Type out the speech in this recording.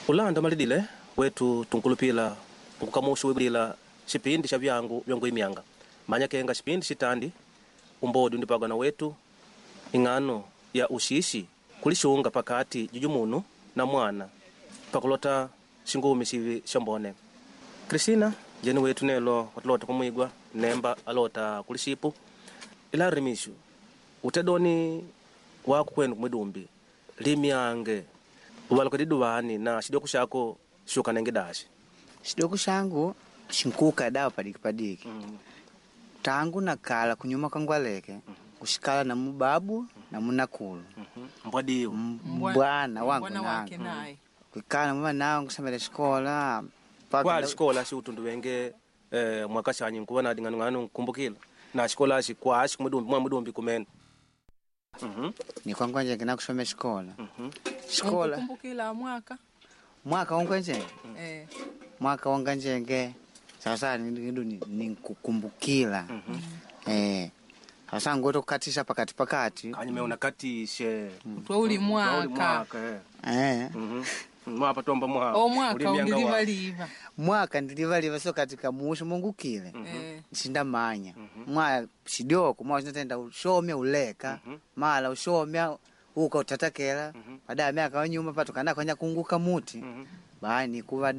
Ulanda malidile wetu tunkulupila nkukamushu wibulila xipindi xa vyangu vyangu imyanga manya kenga xipindi xitandi umbodi undipagana wetu ing'ano ya uxixi kulixunga pakati jujumunu na mwana pakulota xingumi xivi xambone. Cristina jeni wetu nelo watulota kumwigwa nemba alota kulixipu ila rimishu utedoni wako kwenu kumwidumbi limyange uvaluka diduvani na xidoko xako xukanenge daxi. Xidoko xangu xinkuka dawa padiki padiki. Tangu nakala kunyuma kangwaleke kuxikala na mubabu na munakulu. Mbwadiwo. Mbwana wangu Mbwana wake nangu naye. Kuikala mama nangu kusomela xikola mpaka Kwali xikola xi utundu wenge mwaka xanyi nkuva na ding'anung'anu nkumbukila na xikola xi kwaxi kumwidumbi mwa mwidumbi kumene. Nikwangwanjenge nakusoma xikola xikola. Unkukumbukila mwaka? Mwaka wangwanjenge. Eh. Mwaka wanganjenge sasa nidu ninkukumbukila sasa ngoto kukatisha pakati pakati. Kanyume unakatishe. Twa uli Uli mwaka. mwaka. Mwapa tomba mwaka. O mwaka Uli myanga wa- undilivaliva. Mwaka ndilivaliva so katika mushu mungukile. Eh. Sindamanya mwa xidoko mwa xinatenda ushomya uleka mala ushomya uka utatakela baadaye miaka wanyuma pato kana kwanya kunguka muti bani kuva.